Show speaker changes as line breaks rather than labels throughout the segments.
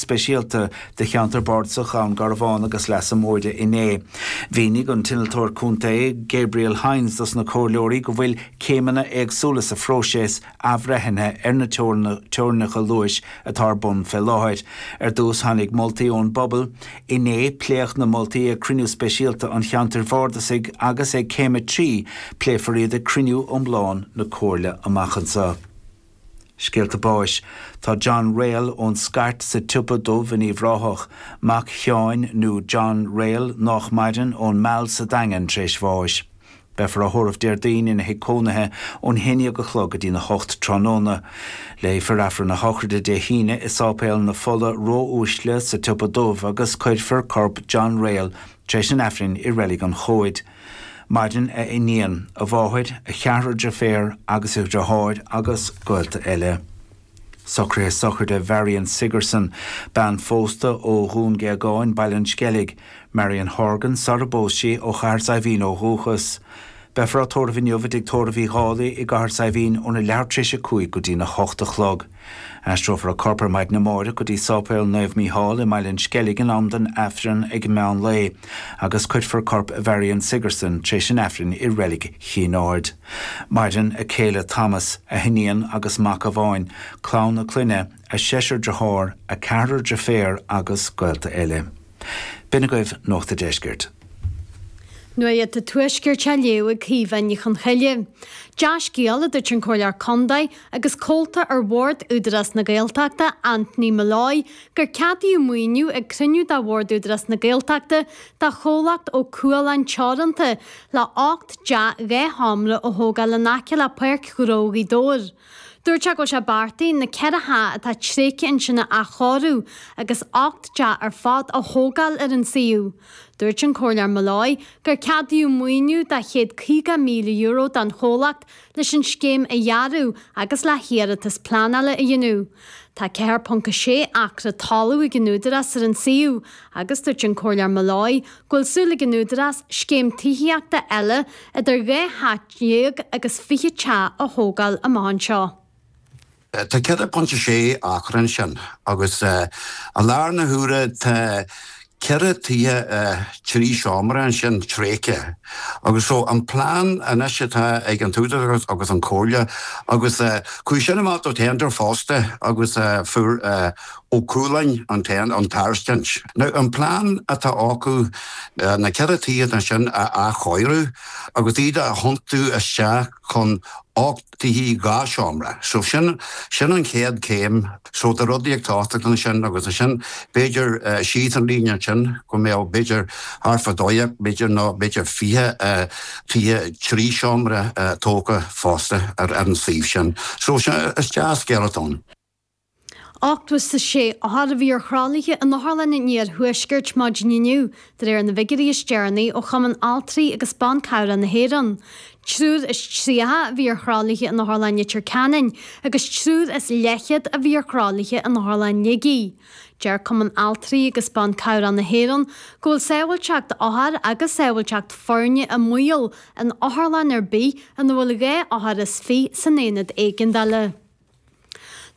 speisialta do Cheantar Bardasach Dhún Garbhán agus Leasa Móire inné. Mhínigh an tInnealtóir Contae, Gabriel Hynes dos na Comhairleoirí go bhfuil céimeanna éagsúla sa phróiseas athbhreithnithe ar na teorainneacha luais atá ar bun fé láthair. Ar dtús tháinig moltaí ón bpobal. Inné pléadh na moltaí ag cruinniú speisialta an Cheantair Bhardasaigh agus ag Céim 3 pléifear iad ag cruinniú iomlán na Comhairle amach anseo. Scéalta báis. Tá John Rayl ón Scairt sa tSiopa Dubh in Uíbh Ráthach, mac Sheáin nó John Rayl nách maireann, ón Meal sa Daingean tar éis bháis. Beifear á thórramh Déardaoin ina thigh cónaithe ón 11 a chlog go dtína hocht tráthnóna. Léifear Aifreann a shochraide Dé hAoine i Sáipéal na Fola Ró-Uaisle sa tSiopa Dubh agus cuirfear corp John Rayl tar éis an Aifrinn i Reilig an Chomhaid. Maireann a iníon, a mháthair, a cheathrar deirféar agus a dhriotháir agus gaolta eile. Socruithe sochraide Mharion Sigerson, bean phósta ó Dhún Géagáin, Baile an Sceilg, Marion Horgan, sara bpós sí, ó Chathair Saidhbhín ó dhúchas. Beifear á tórramh inniu i dTigh Tórraimh Uí Dhálaigh i gCathair Saidhbhín óna leathuair tar éis a 5 go dtína hocht a chlog. Aistreofar a corp ar maidin amáireach go dtí Sáipéal Naomh Mícheál i mBaile an Sceilg in am don Aifreann ag meán lae agus cuirfear corp Mharion Sigerson tar éis an Aifrinn i Reilig Chinn Aird. Maireann a céile Thomas, a hiníon agus mac amháin, clann a clainne, a seisear dearthár, a ceathrar deirféar agus gaolta eile. B'in agaibh Nuacht a' Deiscirt.
Nuacht an Tuaiscirt á léamh ag Caoimhe Ní Chonchoille. Dea-scéal, a dúirt an Comhairleoir Contae agus comhalta ar Bhord Údarás na Gaeltachta, Anthony Molloy, gur ceadaíodh maoiniú ag cruinniú de Bhord Údarás na Gaeltachta do chomhlacht Ó Cualáin Teoranta le 8 dteach 2 sheomra a thógáil in aice le Páirc Ghnó Ghaoth Dobhair. Dúirt sé go bhfuil sé beartaithe na 4 theach atá tréigthe ansin a athchóiriú agus 8 dteach ar fad a thógáil ar an suíomh. Dúirt an Comhairleoir Molloy gur ceadaíodh maoiniú de €150,000 don chomhlacht leis an scéim a dhearadh agus le hiarratas pleanála a dhéanamh. Tá 4.6 acra talaimh ag an Údarás ar an suíomh agus dúirt an Comhairleoir Molloy go bhfuil súil ag an Údarás scéim tithíochta eile idir 12 theach agus 20 teach a thógáil amach anseo.
Tá 4.6 acra ansin agus i láthair na huaire tá ceithre tithe trí seomra ansin tréigthe agus so an plean anois atá ag an t-údarás agus an Chomhairle agus chuaigh sin amach do tender fosta agus fuair Ó Cualáin an an tairiscint. Now an plean atá acu na ceithre tithe ansin a athchóiriú agus iad a thiontú isteach chun 8 tithe 2 seomra. So sin, sin an chéad chéim. So tá rudaí ag tosacht ansin agus ansin b'fhéidir síos an líne ansin go mbeadh b'fhéidir thart fá 12 b'fhéidir nó b'fhéidir 20 tithe 3 seomra tógtha fosta ar an suíomh sin. So sin, is dea-scéal atá ann.
86 othar a bhí ar thralaithe in Otharlann an Iarthuaiscirt maidin inniu, de réir na bhfigiúirí is deireanaí ó Chumann Altraí agus Ban Cabhrach na hÉireann. 33 a bhí ar thralaithe in Otharlann Leitir Ceanainn agus triúr is leathchéad a bhí ar thralaithe in Otharlann Shligigh. Deir Cumann Altraí agus Ban Cabhrach na hÉireann go bhfuil sábháilteacht othar agus sábháilteacht foirne i mbaol in otharlann ar bith ina bhfuil 22 othar san aonad éigeandála.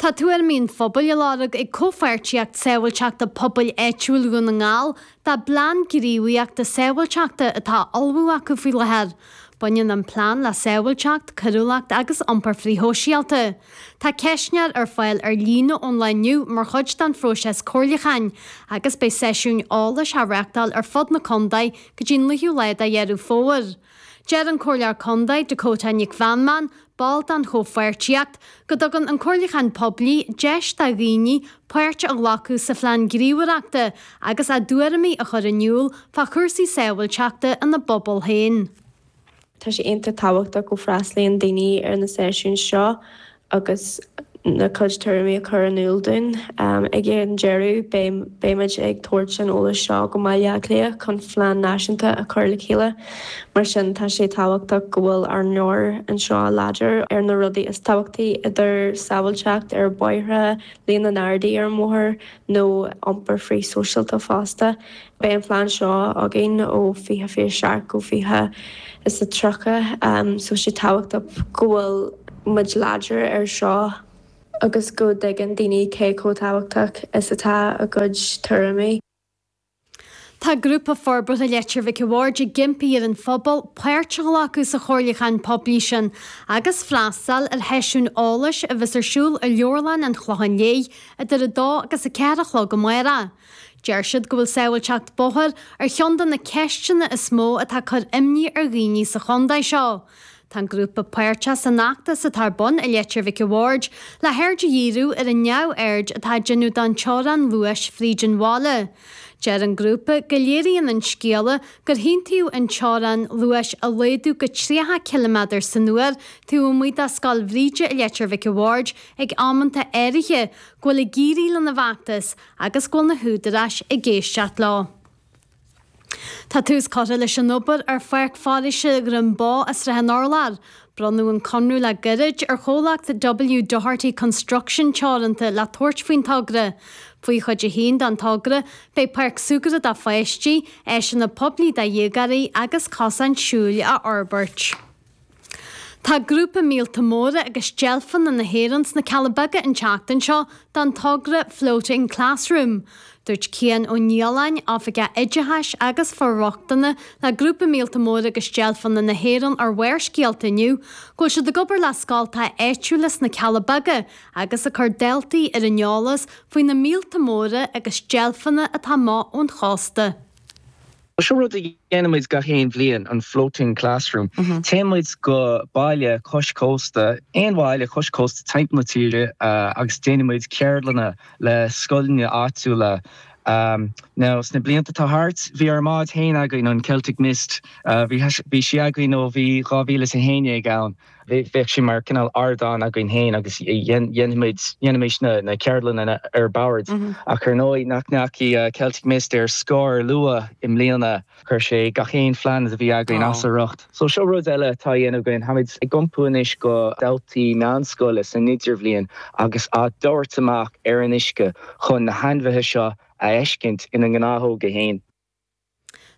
Tá tuairimí an phobail á lorg ag Comhpháirtíocht Sábháilteachta Pobail Áitiúil Dhún na nGall dá bplean gníomhaíochta sábháilteachta atá á ullmhú acu faoi láthair. Baineann an plean le sábháilteacht, coiriúlacht agus iompar frithshóisialta. Tá ceistneoir ar fáil ar líne ón lá inniu mar chuid den phróiseas comhairliúcháin agus beidh seisiúin eolais á reáchtáil ar fud na contae go dtí an 9ú lá de Dheireadh Fómhair. Deir an Comhairleoir Contae, Dakota Nic Mheanman, ball den Chomhpháirtíocht, go dtugann an comhairliúchán poiblí deis do dhaoine páirt a ghlacadh sa phlean gníomhaireachta agus a dtuairimí a chur in iúl fá chúrsaí sábháilteachta ina bpobal féin.
Tá sé iontach tábhachtach go bhfreastalaíonn daoine ar na seisiúin seo agus a gcuid tuairimí a chur in iúl dúinn. Ag an deireadh, beimid ag tabhairt an eolais seo go Baile Átha Cliath chun phlean náisiúnta a chur le chéile. Mar sin, tá sé tábhachtach go bhfuil ár nglór anseo láidir ar na rudaí is tábhachtaí, idir sábháilteacht ar bhóithre, líon na nGardaí ar an mbóthar nó iompar frithshóisialta fosta. Beidh an plean seo againn ó 2027 go 2030 so sé tábhachtach go bhfuil muid láidir ar seo. agus go dtuigeann daoine cé chomh tábhachtach is atá a gcuid tuairimí.
Tá Grúpa Forbartha Leitir Mhic a' Bhaird ag impí ar an phobal páirt a ghlacadh sa chomhairliúchán poiblí sin agus freastal ar sheisiún eolais a bheas ar siúl i Leabharlann an Chlocháin Léith idir 2 agus 4 a chlog amárach. Deir siad go bhfuil sábháilteacht bóthair ar cheann de na ceisteanna is mó atá ag cur imní ar dhaoine sa chontae seo. Tá an grúpa páirteach san fheachtas atá ar bun i Leitir Mhic a' Bhaird le haird a dhíriú ar an neamhaird atá á déanamh don teorainn luais fríd an bhaile. Deir an grúpa go léiríonn an scéala gur haontaíodh an teorainn luais a laghdú go 30 ciliméadar san uair taobh amuigh de Scoil Bhríde i Leitir Mhic a' Bhaird ag amanta áirithe, go bhfuil ag éirí lena bhfeachtas agus go bhfuil na húdaráis ag éisteacht leo. Tá tús curtha leis an obair ar Pháirc Foraoise Dhroim Bó i Srath an Urláir. Bronnadh an conradh le gairid ar chomhlacht W Doherty Construction Teoranta le tabhairt faoin togra. Faoi chuid a haon den togra, beidh páirc súgartha do pháistí, áiseanna poiblí do dhéagóirí agus cosáin siúil á fhorbairt. Tá grúpa Míolta Móra agus Deilfeanna na hÉireann sna Cealla Beaga an tseachtain seo don togra Floating Classroom. Dúirt Cian Ó Nialláin, Oifigeach Oideachais agus For-rochtana le Grúpa Míolta Móra agus Deilfeanna na hÉireann ar Bharrscéalta inniu, go bhfuil siad ag obair le scoltacha áitiúla sna Cealla Beaga agus ag cur daltaí ar an eolas faoi na míolta móra agus deilfeanna atá amach ón chósta.
Seo rud a dhéanann muid gach aon bhliain, an Floating Classroom. Téann muid go baile cois cósta, aon bhaile cois cósta timpeall na tíre agus déanann muid ceardlanna le scoileanna áitiúla. Now, sna blianta atá thart, bhí ár mbád féin againn, an Celtic Mist. Bhí sí againn ó bhí 2011 ann. Bheadh sé mar cineál ardán againn féin agus dhéanfaimis na ceardlanna ar bord. Ach ar ndóigh nach ndeachaigh Celtic Mist ar scor luath i mbliana, chuir sé gach aon phlean a bhí againn as a riocht. So seo rud eile atá á dhéanamh againn, táimid ag iompú anois go daltaí meánscoile san idirbhliain agus á dtabhairt amach ar an uisce chun na hainmhithe seo a fheiscint ina ngnáthóga féin.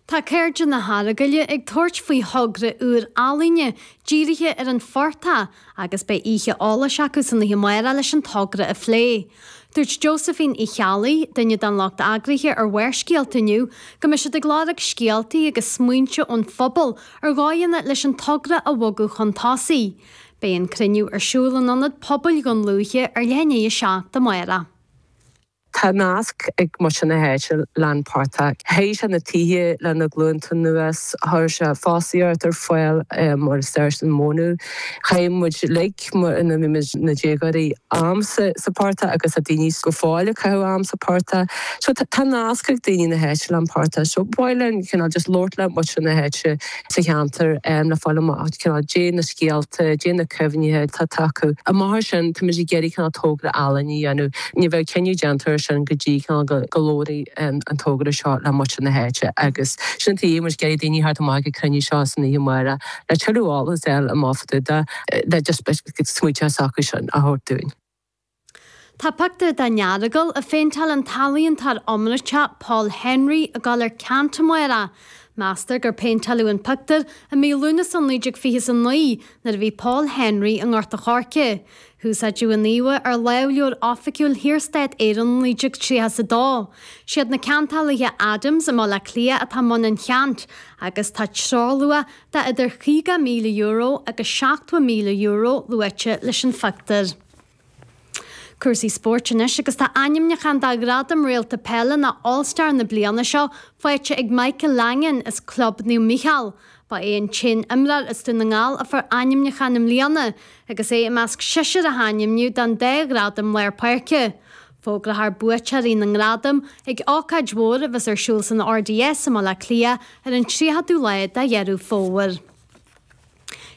Tá Cairde na hEaragaile ag tabhairt faoi thogra úr ealaíne dírithe ar an phortach agus beidh oíche eolais acu san oíche amárach leis an togra a phlé. Dúirt Josephine Uí Cheallaigh, duine den lucht eagraithe ar Bharrscéalta inniu, go mbeidh siad ag lorg scéaltaí agus smaointe ón phobal ar dhóigheanna leis an togra a bhogadh chun tosaigh. Beidh an cruinniú ar siúl in Ionad Pobail Dhún Lúiche ar leath i ndiaidh a 7 amárach.
Tá nasc ag muintir na háite le'n portach. Théigh sé na tithe le na glúnta anuas, chuir sé fostaíocht ar fáil mar is deir an mónadh. Chaith muid uilig mar ina bhí muid na déagóirí am sa portach agus tá daoine go fóill ag caitheamh am sa portach. So tá nasc ag daoine na háite le'n portach. So ba mhaith linn cineál just labhairt le muintir na háite sa cheantar le fáil amach cineál caidé na scéalta, caidé na cuimhnithe atá acu. Amach as sin táimid ag iarraidh cineál togra ealaíne a dhéanamh. Ní bheidh cinneadh déanta ar sin go dtí cineál go labhróidh an togra seo le muintir na háite agus sin an tuige muid ag iarraidh daoine a theacht amach ag an cruinniú seo san oíche amárach le tuilleadh eolas a fháil amach fá dtaobh de le just smaointe s'acu sin a thabhairt dúinn.
Tá pictiúr den Earagail a phéinteáil an t-ealaíontóir iomráiteach Paul Henry ag dul ar ceant amárach. Meastar gur péinteáladh an pictiúr i mí Lúnasa 1929 nuair a bhí Paul Henry i nGort a' Choirce. Húsáideadh an íomhá ar lámhleabhar oifigiúil Shaorstát Éireann 1932. Siad na ceantálaithe Adams i mBaile Átha Cliath atá i mbun an cheant agus tá treoirluach de idir €50,000 agus €70,000 luaite leis an phictiúr. Cúrsaí spóirt anois agus tá ainmniúchán do Ghradam Réalta Peile nó All Star na bliana seo faighte ag Michael Langan as Club Naomh Mícheál. Ba é an t-aon imreoir as Dún na nGall a fuair ainmniúchán i mbliana agus é i measc seisear a hainmníodh don dá ghradam lár páirce. Fógrófar buaiteoirí na ngradam ag ócáid mhór a bheas ar siúl san RDS i mBaile Átha Cliath ar an 30ú lá de Dheireadh Fómhair.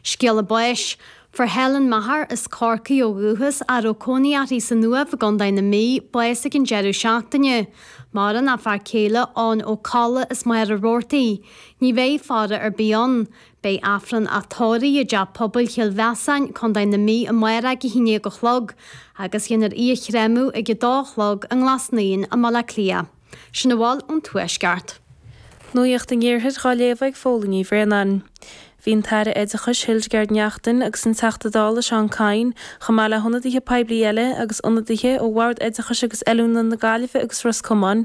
Scéala báis. Fuair Helen Maher, as Corcaigh ó dhúchas, a raibh cónaí uirthi san Uaimh i gContae na Mí, bás ag an deireadh seachtaine. Maireann a fear céile, Eoin Ó Colla, as Machaire Rabhartaigh. Ní bheidh faire ar bith ann. Beidh Aifreann á tórramh i dTeach Pobail Chill Mheasáin, Contae na Mí amárach ag 11 a chlog, agus dhéanfar í a chréamadh ag 2 a chlog i nGlas Naíon i mBaile Átha Cliath. Sin a bhfuil ón Tuaisceart.
Nuacht an Iarthair dhá léamh ag Fódhla Ní Bhraonáin. Bhí an tAire Oideachais Hildegarde Naughton agus an Teachta Dála Seán Kyne, chomh maith le hionadaithe poiblí eile agus ionadaithe ó Bhord Oideachais agus Oiliúna na Gaillimhe agus Ros Comáin.